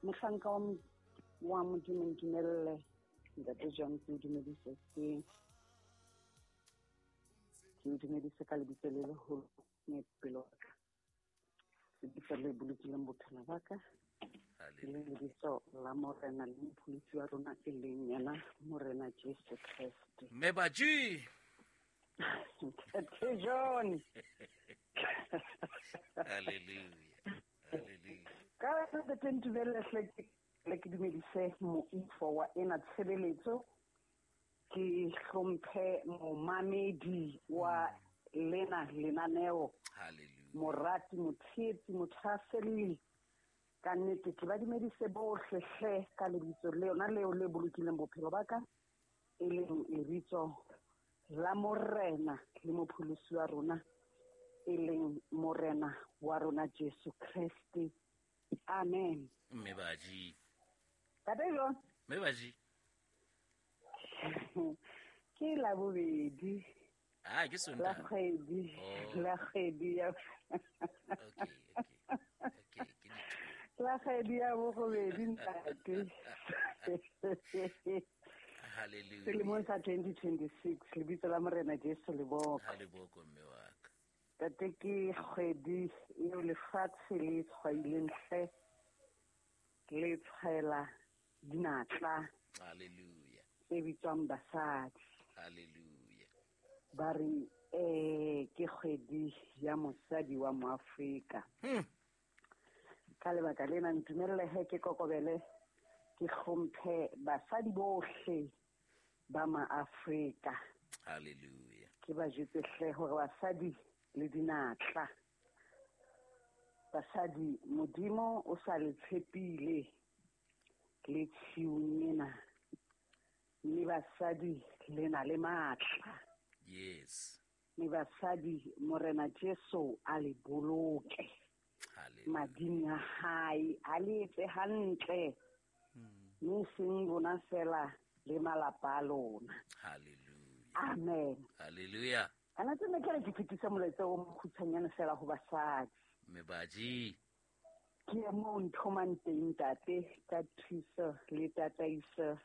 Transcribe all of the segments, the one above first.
Mohlanka wa Modimo, ntumelle Ntate John ke o dumedise ke o dumedise ka lebitso le leholo mme pelo wa ka, lebitso le bolokileng bophelo ba ka, e leng lebitso la Morena le Mopholosi wa rona, e leng yena Morena Jesu Kreste. Mme Baji. Ntate John. Hallelujah. Hallelujah. Ka ntate ntumelle hle le ke dumedise moifo wa ena tshebeletso, ke hlomphe momamedi wa lena lenaneo. Hallelujah. Morati, motshehetsi, mothahaselli, ka nnete ke ba dumedise bohle hle ka lebitso le yona leo le bolokileng bophelo ba ka, e leng lebitso la Morena le Mopholosi wa rona, e leng Morena wa rona Jesu Kreste. Amen. Mme Baji. Tate John. Mme Baji. Ke la bobedi. Ah, ke La Sontaha. kgwedi. Oh. La kgwedi ya. Okay, okay. Okay, ke dithuto. La kgwedi ya borobedi, ntate. Hallelujah. Selemong sa 2026, lebitso la Morena Jesu le boko. Ha le boko, mme wa ka. Tate, ke kgwedi eo lefatshe le tshwaileng hle, le tshwaela dinatla. Hallelujah. Tse bitswang basadi. Hallelujah. Ba re, ke kgwedi ya mosadi wa Moafrika. Ka lebaka lena ntumelle he ke kokobele, ke hlomphe basadi bohle ba Maafrika. Hallelujah. Ke ba jwetse hle hore basadi le dinatla. Basadi, Modimo o sa le tshepile le tshiung ena. Mme basadi le na le matla. Yes. Mme basadi, Morena Jesu a le boloke. Hallelujah. Mading a hae, a le etse hantle. Mme seng lona fela le malapa a lona. Hallelujah. Amen. Hallelujah. Ana tse ne ke re ke fetise molaetsa o mokgutshwanyane fela ho basadi. Mme Baji. Ke mo nthomang teng ntate ka thuso le tataiso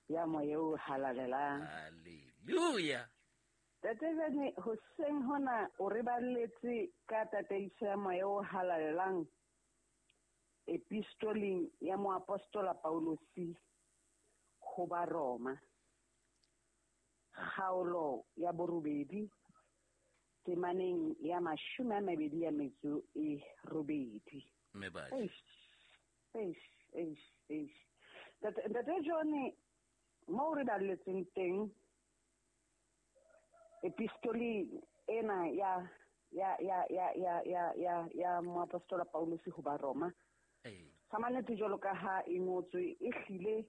ya moya o halalelang. Hallelujah. Tate jane hoseng hona o re balletse ka tataiso ya moya o halalelang epistoleng ya moapostola Paulosi ho ba Roma, kgaolo ya borobedi temaneng ya 28. Mme Baji. Eish, eish, eish, eish. Ntate John, mo re balletseng teng epistoleng ena ya ya ya ya ya ya ya ya moapostola Paulosi ho ba Roma. Sa mannete jwalo ka ha e ngotswe, e hlile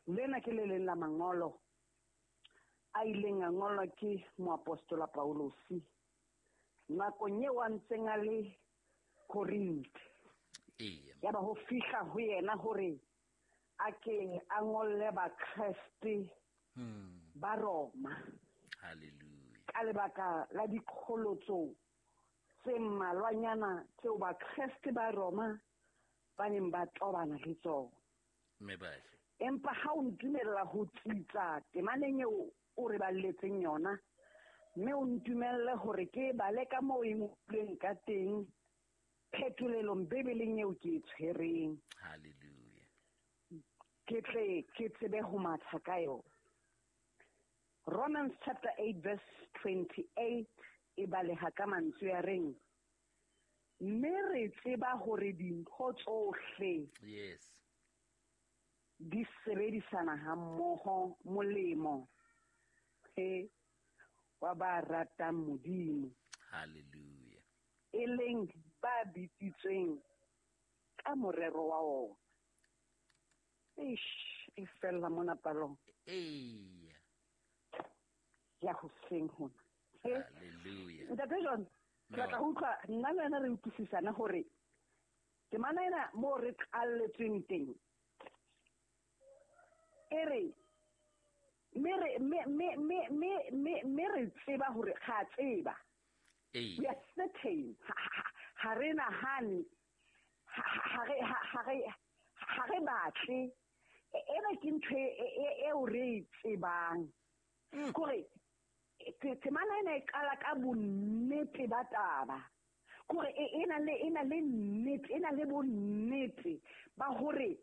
lena ke le leng la mangolo a ileng a ngolwa ke moapostola Paulosi nakong eo a ntseng a le Korinthe. Ya ba ho fihla ho yena hore a ke a ngolle Bakreste ba Roma. Hallelujah. Ka lebaka la diqholotso tse mmalwanyana tseo Bakreste ba Roma ba neng ba tobana le tsona. Mme Baji. Empa ha o ntumella ho tsitsa temaneng eo o re balletseng yona, mme o ntumelle hore ke bale ka moo e ngotsweng ka teng phetolelong Bibeleng eo ke e tshwereng. Hallelujah. Ke tle ke tsebe ho matha ka yona. Romans chapter 8 verse 28 e baleha ka mantswe a reng, mme re tseba hore dintho tsohle Yes. di sebedisana ha mmoho molemo he wa ba ratang Modimo. Hallelujah. E leng ba bitsitsweng ka morero wa ona. Eish, e fella mona palong. Eya. Ya hoseng hona. Hallelujah. Ntate John, ke batla ho utlwa nna le wena re utlwisisana hore temana ena moo re qalletsweng teng e re mme re tseba hore ga tseba. We are certain. Ha re nahane, ha batle. Ena ke ntho eo re e tsebang. Kore temana ena e qala ka bonnete ba taba. Kore e na le nnete, e na le bonnete ba hore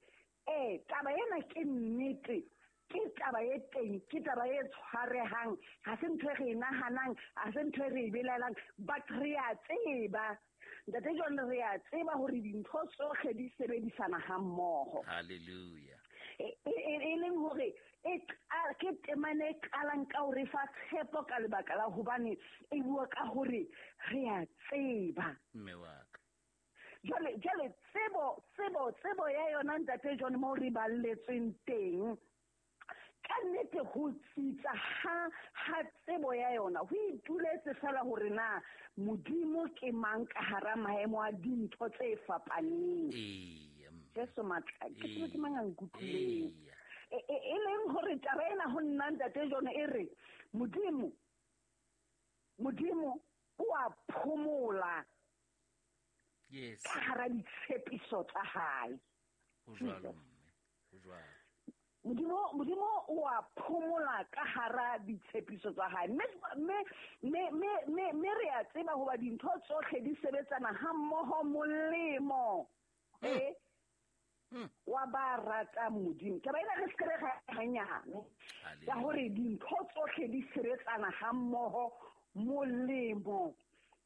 taba ena ke nnete, ke taba e teng, ke taba e tshwarehang, ha se ntho e re e nahanang, ha se ntho e re e belaelang, but re a tseba. Ntate John, re a tseba hore dintho tsohle di sebedisana ha mmoho. Hallelujah. E leng hore ke temana e qalang ka hore fa tshepo ka lebaka la hobane e bua ka hore re a tseba. Mme wa ka. Jwale tsebo ya yona ntate John mo re balletsweng teng. Ka nnete ho tsitsa ha tsebo ya yona ho ituletse fela hore na Modimo ke mang ka hara maemo a dintho tse fapaneng. Jesu matla, ke tsebe ke mang a nkutlwileng. E leng hore taba ena ho nna ntate John e re Modimo o a phomola. Yes. Ka hara ditshepiso tsa hae. Ho jwalo mme, ho jwalo. Modimo o a phomola ka hara ditshepiso tsa hae. Mme re a tseba hoba dintho tsohle di sebetsana ha mmoho molemo. Wa ba rata Modimo. Taba ena re se re hanyane. Ya hore dintho tsohle di sebetsana ha mmoho molemo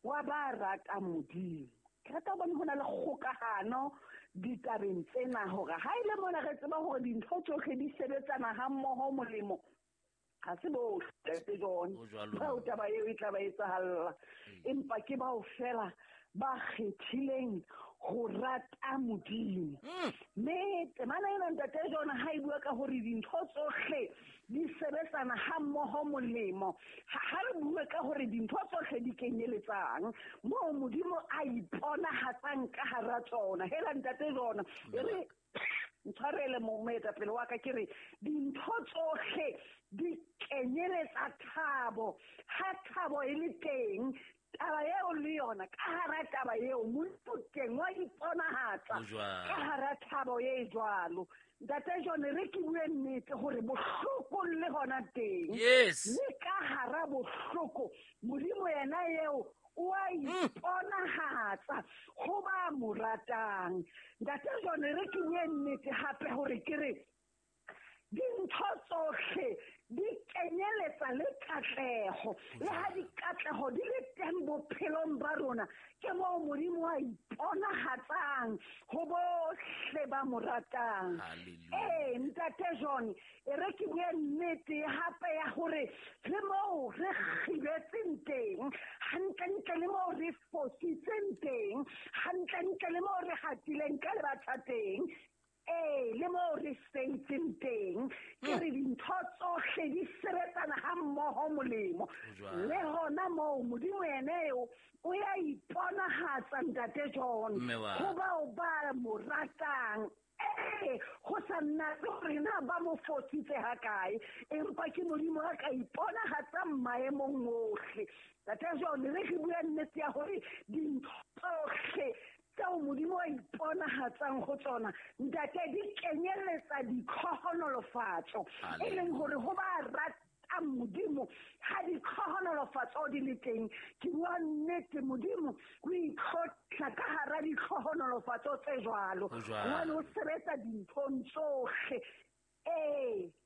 wa ba rata Modimo. Ke rata hobane ho na le kgokahano ditabeng tsena hore ha ile mona re tseba hore dintho tsohle di sebetsana ha mmoho molemo, ha se bohle ntate John bao taba eo e tla ba etsahalla, empa ke bao fela ba kgethileng ho rata Modimo. Mme temana ena ntate John ha e bua ka hore dintho tsohle di sebetsana ha mmoho molemo, ha re bue ka hore dintho tsohle di kenyeletsang moo Modimo a iponahatsang ka hara tsona. Hela ntate John, e re ntshwarele moetapele wa ka, ke re dintho tsohle di kenyeletsa thabo. Ha thabo e le teng, taba eo le yona ka hara taba eo Modimo teng wa iponahatsa ka hara thabo e jwalo. Ntate John, re ke bue nnete hore bohloko le hona teng. Yes. Le ka hara bohloko Modimo yena eo o a iponahatsa ho ba mo ratang. Ntate John, re ke bue nnete hape hore ke re dintho tsohle di kenyeletsa le katleho. Le ha dikatleho di le teng bophelong ba rona, ke moo Modimo a iponahatsang ho bohle ba mo ratang. Ntate John, e re ke bue nnete hape ya hore le moo re kgibetseng teng, hantlentle le moo re fositseng teng, hantlentle le moo re hatileng ka lebatha teng, le moo re sentseng teng, ke re dintho tsohle di sebetsana ha mmoho molemo. Le hona moo Modimo yena eo o ya iponahatsa ntate John ho bao ba mo ratang. Ho sa nna hore na ba mo fositse hakae, empa ke Modimo a ka iponahatsang maemong ohle. Ntate John, re ke bua nnete ya hore dintho tsohle tseo Modimo a iponahatsang ho tsona, ntate, di kenyeletsa ditlhohonolofatso, e leng hore ho ba ratang Modimo ha ditlhohonolofatso di le teng. Ke bua nnete, Modimo o itlotla ka hara ditlhohonolofatso tse jwalo, hobane o sebetsa dinthong tsohle.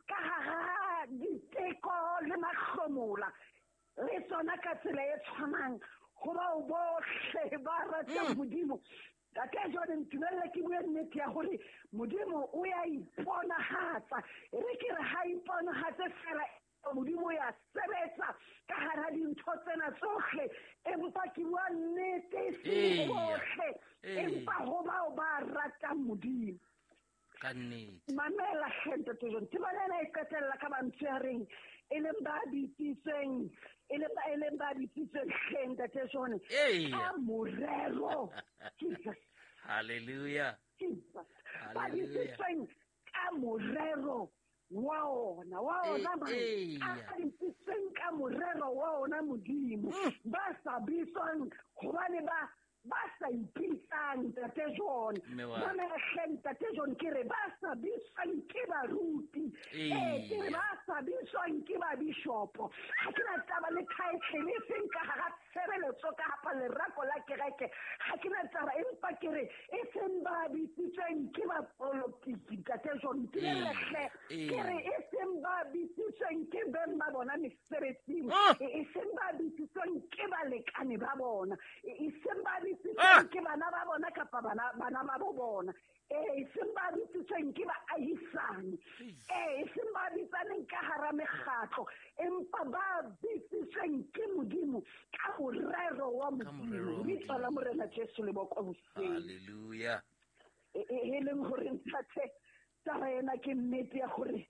Ka hara diteko le mahlomola le tsona ka tsela e tshwanang ho bao bohle ba ratang Modimo. Ntate John, ntumelle ke bue nnete ya hore Modimo o ya iponahatsa. E re ke re ha iponahatse fela, Modimo ya sebetsa ka hara dintho tsena tsohle, empa ke bua nnete e bohle, empa ho bao ba ratang Modimo. Ka nnete. Mamela hle ntate John, temana ena e qetella ka mantswe a reng e leng ba bitsitsweng, e leng ba bitsitsweng hle ntate John, ka morero. Jesus. Hallelujah. Jesus. Ba bitsitsweng ka morero wa ona, mang? A bitsitsweng ka morero wa ona Modimo. Ba sa bitswang hobane ba Ba sa ipitsang Ntate John. Mamela hle Ntate John, ke re ba sa bitswang ke baruti. Ke re ba sa bitswang ke ba bishopo. Ha ke na taba le title e seng ka hara tshebeletso ka hapa lerako la kereke. Ha ke na taba, empa ke re e seng ba bitsitsweng ke ba politiki Ntate John. Ke re hle, ke re e seng ba bitsitsweng ke beng ba bona mesebetsing. E seng ba bitsitsweng ke balekane ba bona. E seng ba ke bana ba bona kapa bana ba bo bona. E seng ba bitsitsweng ke baahisane. E seng ba bitsaneng ka hara mekgatlo, empa ba bitsitsweng ke Modimo ka morero wa Modimo. Lebitso la Morena Jesu le bokwe hoseng. Hallelujah. E leng hore ntate, taba ena ke nnete ya hore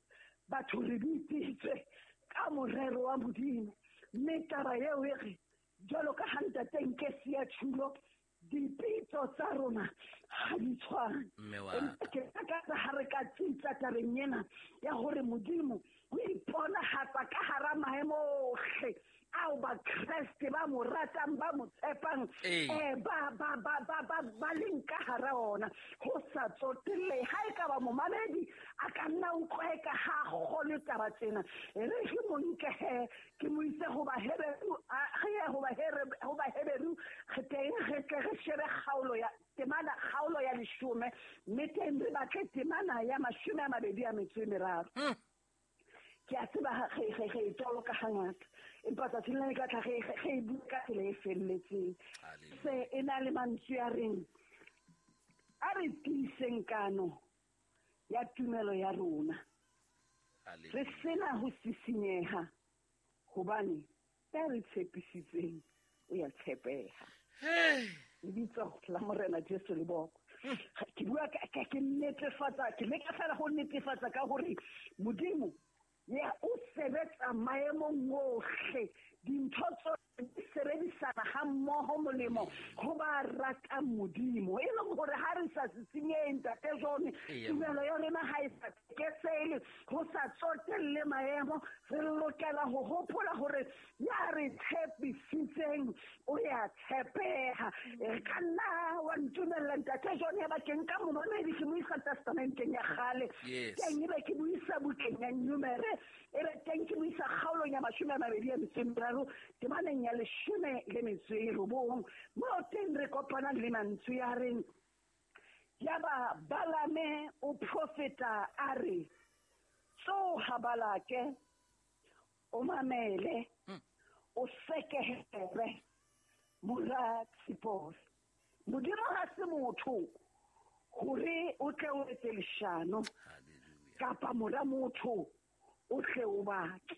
batho re bitsitswe ka morero wa Modimo. Mme taba eo e re jwalo ka ha ntate nke siya tjhulo, dipitso tsa rona ha di tshwane. Empa ke takatsa ha re ka tsitsa tabeng ena ya hore Modimo o iponahatsa ka hara maemo ohle ao Bakreste ba mo ratang, ba mo tshepang, ba leng ka hara ona. Ho sa tsotelle ha e ka ba momamedi a ka nna utlwa eka ha kgolwe taba tsena. E re ke mo nke he, ke mo ise ho Baheberu, re ye ho Baheberu, re teng re tle re shebe kgaolo ya temana, kgaolo ya 10, mme teng re batle temana ya 23. Ke a tseba re toloka hangata, empa tsatsing lena ka tla re e bua ka tsela e felletseng. Se e na le mantswe a reng, a re tiiseng kano ya tumelo ya rona, re sena ho sisinyeha, hobane ya re tshepisitseng o ya tshepeha. Lebitso la Morena Jesu le bokwe. Ke bua ke netefatsa, ke leka fela ho netefatsa ka hore Modimo ya o sebetsa maemong ohle, dintho tsohle di sebedisana ha mmoho molemo ho ba ratang Modimo. E leng hore ha re sa sisinyehe Ntate John, tumelo ya rona ha e sa tekesele, ho sa tsotelle maemo, re lokela ho hopola hore ya re tshepisitseng o ya tshepeha. E ka nna wa ntumella Ntate John, ya ba ke nka momamedi ke mo isa testamenteng ya kgale, teng ebe ke mo isa bukeng ya Numere, ebe teng ke mo isa kgaolong ya 23, temaneng ya 19, moo teng re kopanang le mantswe a reng, yaba Balame o profeta a re, tsoha Balake, o mamele, o sekehere mora Tsipore. Modimo ha se motho hore o tle o etse leshano, kapa mora motho o tle o bake.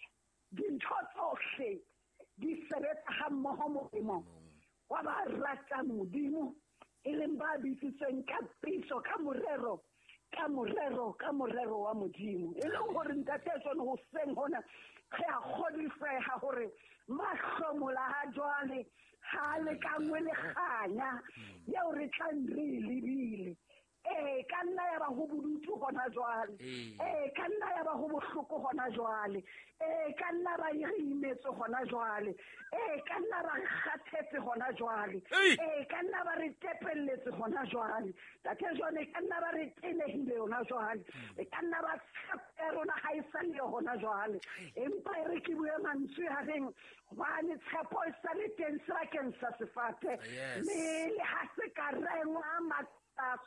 Dintho tsohle di sebetsa ha mmoho molemo wa ba ratang Modimo, e leng ba bitsitsweng ka pitso, ka morero, ka morero, ka morero wa Modimo. E leng hore Ntate John hoseng hona re a kgodiseha hore mahlomola ha jwale ha lekangwe le kganya eo re tlang re e lebile. Ka nna ya ba ho bodutu hona jwale. Ka nna ya ba ho bohloko hona jwale. Ka nna ba re imetse hona jwale. Ka nna ba re kgathetse hona jwale. Ka nna ba re tepelletse hona jwale. Ntate John, ka nna ba re tenehile hona jwale. Ka nna ba tshepo ya rona ha e sa le hona jwale. Empa e re ke bue mantswe a reng, hobane tshepo e sa le teng sebakeng sa sefate. Mme le ha se ka rengwa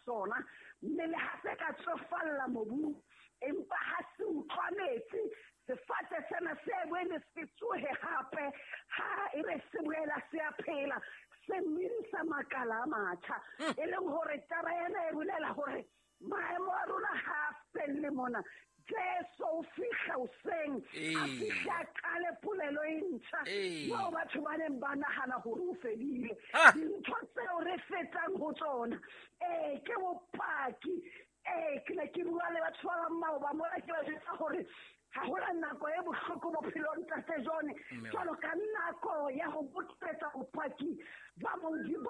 sona, mme le ha se ka tsofalla mobung, empa ha se utlwa metsi, sefate sena se boele se tsohe hape. Ha e be se boela se a phela, se medisa makala a matjha. E leng hore taba ena e bolela hore maemo a rona ha a felle mona. Jesu o fihla hoseng, a fihla a qale polelo e ntjha, moo batho ba neng ba nahana hore o fedile. Dintho tseo re fetang ho tsona, ke bopaki. Ke ne ke bua le batho ba bang maoba mona, ke ba jwetsa hore ha hona nako e bohloko bophelong Ntate John, jwalo ka nako ya ho botsetsa bopaki ba Modimo,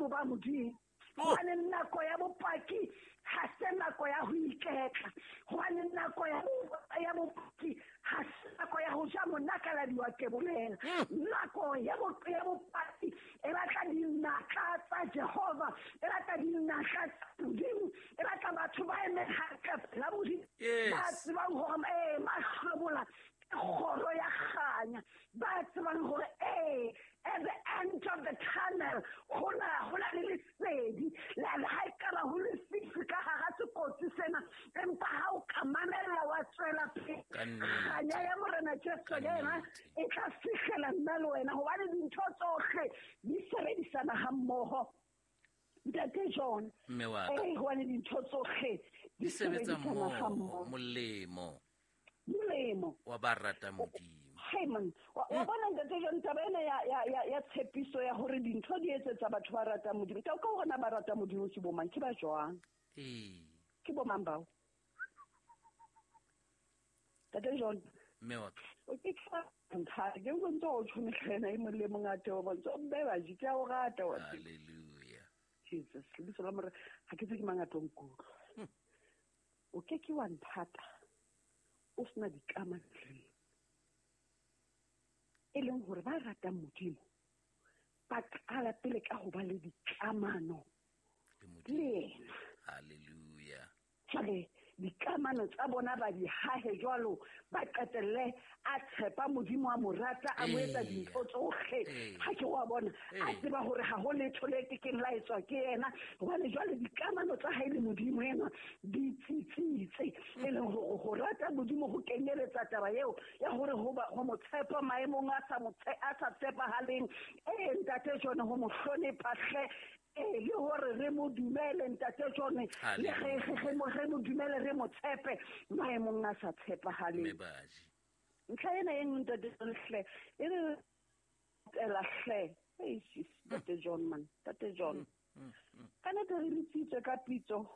ba Modimo. Hobane nako ya bopaki ha se nako ya ho iketla. Hobane nako ya bopaki ha se nako ya ho ja monakaladi wa kebolela. Nako ya bopaki e batla dinatla tsa Jehova, e batla dinatla tsa Modimo, e batla batho ba emeng hantle pela Modimo. Ba tsebang hore mahlomola ke kgoro ya kganya. Ba tsebang hore at the end of the tunnel ho na le lesedi. Le ha ekaba ho lefifi ka hara sekotsi sena, empa ha o ka mamella wa tswela pele, kganya ya Morena Jesu yena e tla fihlela nna le wena, hobane dintho tsohle di sebedisana ha mmoho. Ntate John, hobane dintho tsohle di sebetsa sebedisana ha mmoho. Molemo. Molemo. Wa ba rata Modimo. Hey man, wa bona ntate John, taba ena ya tshepiso ya hore dintho di etsetsa batho ba ratang Modimo. Ka hore na ba rata Modimo ke bo mang, ke ba jwang? Ke bo mang bao? Ntate John. Mme wa ka. O ke tla ntlha, ke o ntse o tshwane hlena e mong le mong a teo bontsho, mme ba ji, ke a o rata wa tseba. Hallelujah. Jesus, lebitso la Morena, ha ke tse ke mang a tlo nkutlwa. O ke ke wa nthata, o sena dikamano le nna. E leng hore ba ratang Modimo ba qala pele ka ho ba le dikamano le le yena. Hallelujah. Jwale dikamano tsa bona ba di hahe jwalo, ba qetelle a tshepa Modimo, a mo rata, a mo etsa dintho tsohle. Ha ke wa bona, a tseba hore ha ho letho le kekeng la etswa ke yena, hobane jwale dikamano tsa hae le Modimo ena di tsitsitse. E leng hore ho rata Modimo ho kenyeletsa taba eo ya hore ho mo tshepa maemong a sa tshepahaleng. Ntate John, ho mo hlonepha hle. Le hore re mo dumele ntate John, le re mo dumele, re mo tshepe maemong a sa tshepahaleng. Ntlha ena e nngwe ntate John hle, e re ela hle. Ei, sis, ntate John man, ntate John. Ka nnete re bitsitswe ka pitso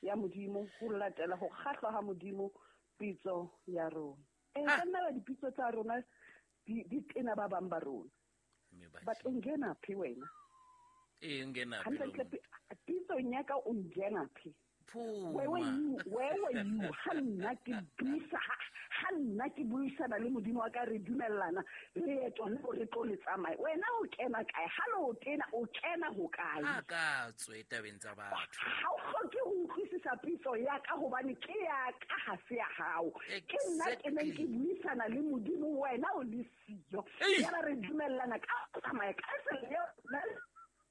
ya Modimo, ho latela ho kgahlwa ha Modimo pitso ya rona. Ka nna ba dipitso tsa rona di tena ba bang ba rona. But o ngena phi wena? Ngena phi. Hantle pitso ya ka o ngena phi. Where were you? Where were you? Ha nna ke buisa, ha nna ke buisana le Modimo wa ka, re dumellana leeto leo re tlo le tsamaya. Wena o kena kae? Ha le o tena, o kena ho kae? Ha ka tswe tabeng tsa batho. Ha o hloke ho utlwisisa pitso ya ka, hobane ke ya ka, ha se ya hao. Ke nna ke neng ke buisana le Modimo, wena o le siyo. Yaba re dumellana ka ho tsamaya ka tsela eo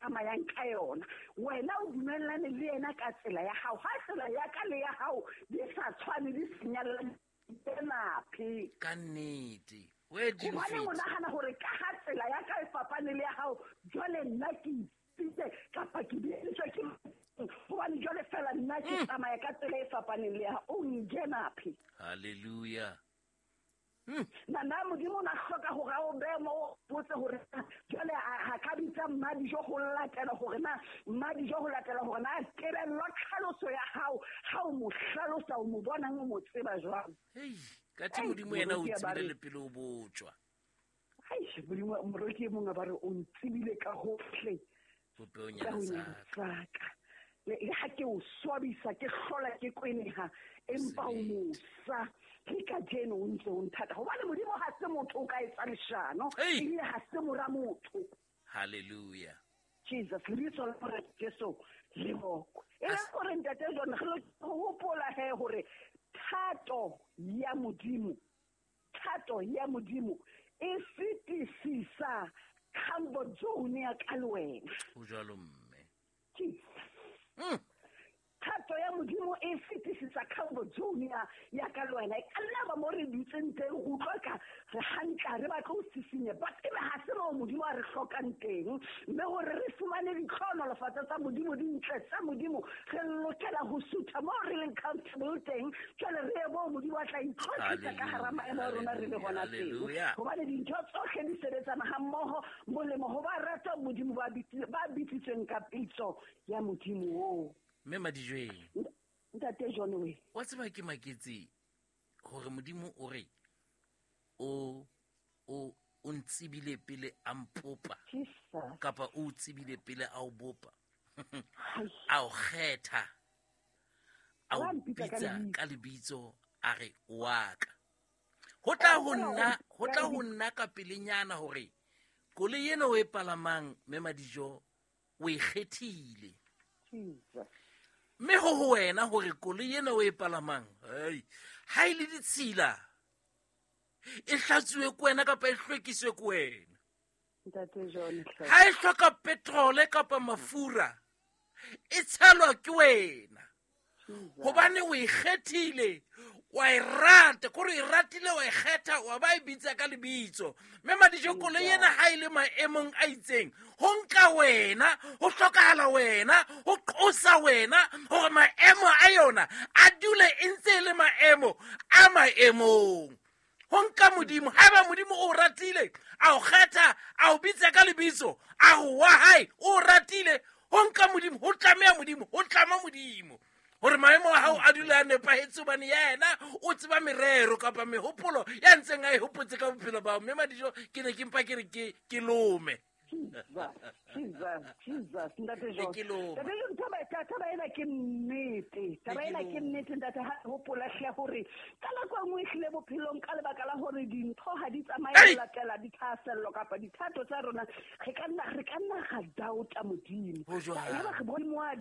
tsamayang ka yona. Wena o dumellane le yena ka tsela ya hao. Ha tsela ya ka le ya hao di sa tshwane, di senyallane phi. Ka nnete. Where do you Hobane fit? o nahana hore ka ha tsela ya ka e fapane le ya hao, jwale nna ke itsitse kapa ke bitswe ke hobane jwale fela nna ke tsamaya ka tsela e fapaneng le ya hao. O nkena phi. Hallelujah. Nna Modimo o na hloka hore a o behe mo o botse hore jwale ha ka bitsa Mmadijo ho latela hore na Mmadijo ho latela hore na tebello tlhaloso ya hao, ha o mo hlalosa o mo bonang o mo tseba jwang. Hei, ka thi Modimo yena o tsebile le pele o botjwa. Hai, Modimo, moroki e mong a ba re o ntsebile ka hohle. Popehong Ka ya ho lesaka. nyatsa. Le ha ke o swabisa, ke hlola ke kweneha, empa o mosa. Ke kajeno o ntse o nthata. Hobane Modimo ha se motho o ka etsa leshano, ebile ha se mora motho. Hallelujah. Jesus, lebitso la Morena Jesu le bokwe. E le hore ntate John, re lokela ho hopola he hore thato ya Modimo, thato ya Modimo e fetisisa comfort zone ya ka le wena. Ho jwalo mme. Jesus. Thato ya Modimo e fetisisa comfort zone ya ka le wena. E ka nna ba mo re dutseng teng, re utlwa ka re hantle, re batla ho sisinya, but ebe ha se moo Modimo a re hlokang teng. Mme hore re fumane ditlhohonolofatso tsa Modimo, dintle tsa Modimo, re lokela ho sutha moo re leng comfortable teng. Jwale re ye moo Modimo a tla itlhotlisa ka hara maemo a rona re le hona teng. Hobane dintho tsohle di sebetsana ha mmoho, molemo ho ba ratang Modimo ba bitsitsweng ka pitso ya Modimo oo. Mme Madijweng. Ntate John we. Wa tseba ke maketse hore Modimo o re o o ntsebile pele a mpopa. Jesus. Kapa o tsebile pele a o bopa. A o kgetha, a o bitsa ka lebitso, a re wa ka. Ho tla ho nna, ho tla ho nna ka pelenyana hore koloi ena o e palamang, mme Madijo, o e kgethile. Mme ho ho wena hore koloi ena o e palamang, hei, ha e le ditshila, e hlatsuwe ke wena kapa e hlwekiswe ke wena. Ha e hloka petrole kapa mafura, e tshelwa ke wena. Hobane o e kgethile, wa e rata, kore e ratile, wa e kgetha, wa ba e bitsa ka lebitso. Mme Madijo, koloi ena ha e le maemong a itseng, ho nka wena, ho hlokahala wena, ho qosa wena hore maemo a yona a dule e ntse e le maemo a maemong. Ho nka Modimo, haeba Modimo o ratile, a o kgetha, a o bitsa ka lebitso, a re wa hae, o ratile, ho nka Modimo, ho tlameha Modimo, ho tlama Modimo hore maemo a hao a dule a nepahetse, hobane yena o tseba merero kapa mehopolo ya ntseng a e hopotse ka bophelo bao. Mme Madijo, ke ne ke mpa ke re ke lome. Jesus, Jesus, Ntate John. Ntate John, taba ena ke nnete. Taba ena ke nnete, ntate, ha hopola hle hore ka nako e nngwe ehlile bophelong, ka lebaka la hore dintho ha di tsamaye ho latela dithahasello kapa dithato tsa rona, re ka nna ra doubta Modimo. Yaba re bone mo a